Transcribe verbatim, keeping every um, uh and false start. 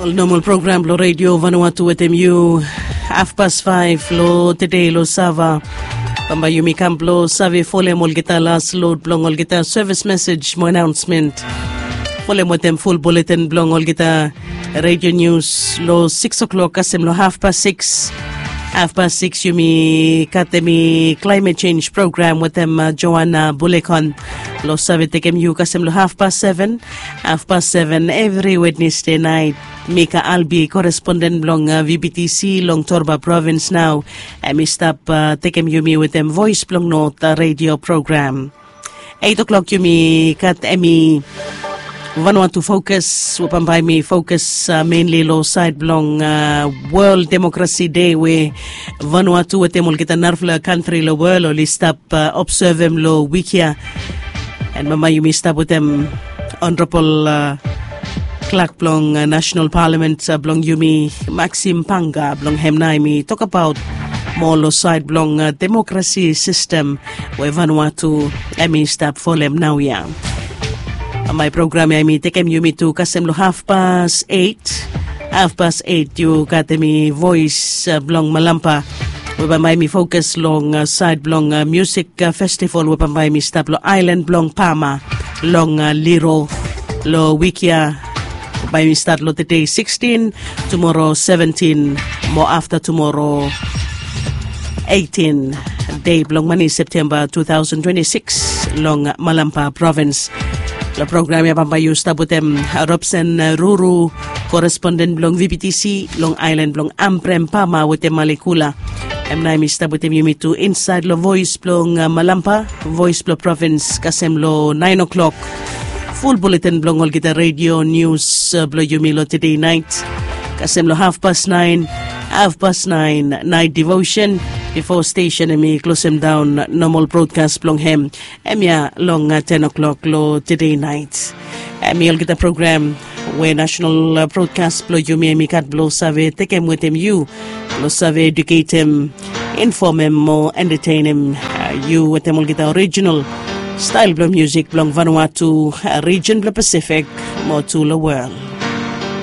Ol nomal program blong redio Vanuatu wetem yu, hafpas faef long tede long sava. Bambae yumi kam blong save folem olgeta las lod blong olgeta sevis mesej mo anaonsmen. Folem wetem ful buletin blong olgeta redio nius long sikis o'klok kasem long hafpas sikis. Hafpas sikis yumi gat hemi klaimet jenj program wetem Joana Bulekon. Long save tekem yu kasem long hafpas seven. Hafpas seven evri Wednesde naet. Mika Albi, koresponden blong V B T C long Torba provins nao, hemi stap tekem yumi wetem Voes blong Not redio program. Eit o'klok yumi gat hemi Vanuatu Fokus, we bambae mi fokus menli long saed blong World Democracy Day we Vanuatu wetem olgeta narafala kantri long wol oli stap obsevem long wik ya. An bambae yumi stap wetem Honorable Clerk blong National Parliament blong yumi, Maxim Panga, blong hem nao hemi tokbaot moa long saed blong demokrasi sistem we Vanuatu hemi stap folem naoia. Bambae program ya hemi tekem yumi tu kasem long hafpas eit. Hafpas eit yu gat hemi Voes blong Malampa, we bambae hemi fokus long saed blong musik festival we bambae hemi stap long aelan blong Pama long Liro long wik ya. Bae hemi stat long tede sikstin, tumoro seventin, mo afta tumoro eitin dei blong mane Septemba tu taosen twenti sikis long Malampa provins. Long program ya bambae yu stap wetem Robson Ruru, koresponden blong V B T C long aelan blong Ambrem Pama wetem Malekula. Hem nao hemi stap wetem yumi tu insaed long Voes blong Malampa, Voes blong Provins kasem long naen o'klok. Ful buletin blong olgeta redio nius blong yumi long tede naet kasem long hafpas naen. Hafpas naen naet devosen, bifo stesen hemi klosem daon nomal brodkas blong hem, hemia long ten o'klok long tede naet. Hemi olgeta program we nasenal brodkas blong yumi hemi gat blong save tekem wetem yu blong save eduketem, infomem mo entatenem yu wetem olgeta orijinal stael blong musik blong Vanuatu, rijen blong Pasifik, mo tu long wol.